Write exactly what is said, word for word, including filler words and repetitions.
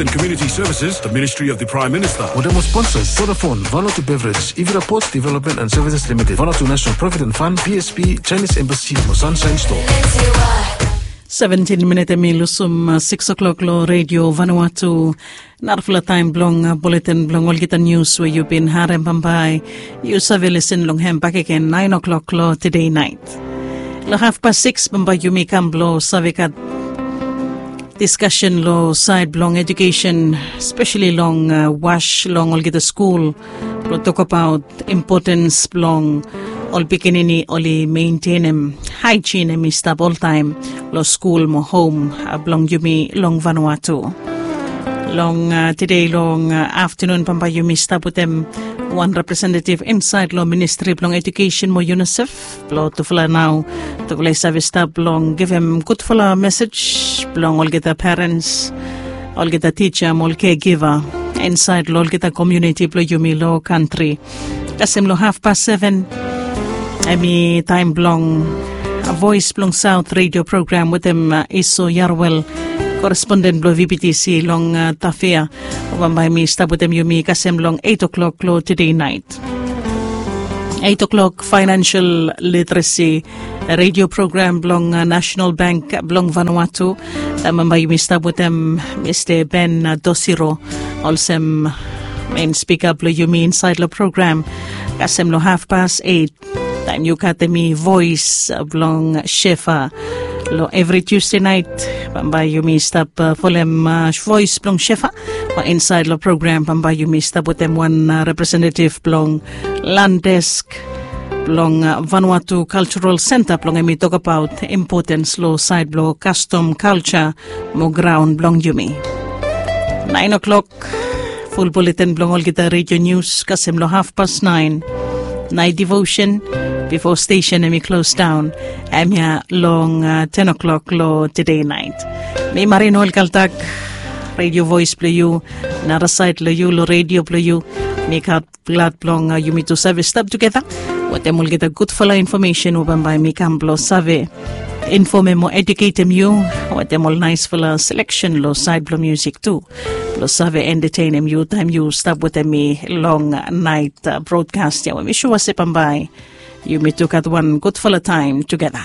and Community Services, the Ministry of the Prime Minister. Water mo sponsors, Vodafone, Vanuatu Beverage, Ivira Ports Development and Services Limited, Vanuatu National Provident Fund, P S P, Chinese Embassy, mo Sunshine Store. Seventeen minit em i lusum six o'clock lo Radio Vanuatu. Narafala taem blong buletin blong olgeta nius we yu bin harem bambae yu save lesen long hem bakegen naen o'clock lo tedei naet. Lo hafpas six bambae yumi kam blong save gat diskasen lo saed blong ejukesen, spesali long was long olgeta skul, blong tokabaot impotens blong ol pikinini oli mentenem haejin em i stap oltaem lo skul mo hom blong yumi long Vanuatu. Long tedei long aftanun bambae yumi stap wetem wan representetiv insaed long ministri blong ejukesen mo UNICEF, blong tufala nao tufala i save stap blong givim gudfala mesej blong olgeta perens, olgeta tija mo ol kegiva insaed long olgeta komuniti blong yumi long kantri. Kasem long hafpas seven em i taem blong Voes blong Saot redio program wetem Iso Yarwel, koresponden blong VBTC long Tafea. Bambae mi stap wetem yumi kasem long eit o'klok long tedei naet. Eit o'klok, faenensel literesi redio program blong Nasenal Bank blong Vanuatu. Bambae yumi stap wetem Mista Ben Dosiro olsem men spika blong yumi insaed long program. Kasem long hafpas eit taem yu gat em i Voes blong Shefa. Long evri Tusde naet bambae yumi stap folem Voes blong Shefa. Mo insaed long program bambae yumi stap wetem wan representetiv blong Land Desk blong Vanuatu Cultural Centre blong em i tokabaot impotens long saed blong kastom, kalja mo graon blong yumi. Naen o'klok, ful buletin blong olgeta redio nius kasem long hafpas naen. Naet devosen bifo stesen em i klos daon, em ya long ten o'klok long tedei naet. Mi Marin Olkaltak, redio Voes blong yu, narasaed long yu long redio blong yu. Mi gat glad blong yumi tu save stap tugeta wetem olgeta gudfala infomesen we bambae mi kam blong save infomem o ejuketem yu wetem ol naesfala seleksen long saed blong musik tu, blong save entetenem yu taem yu stap wetem mi long naet brodkas ya we mi sua se bambae yumi tu gat wan gudfala taem tugeta.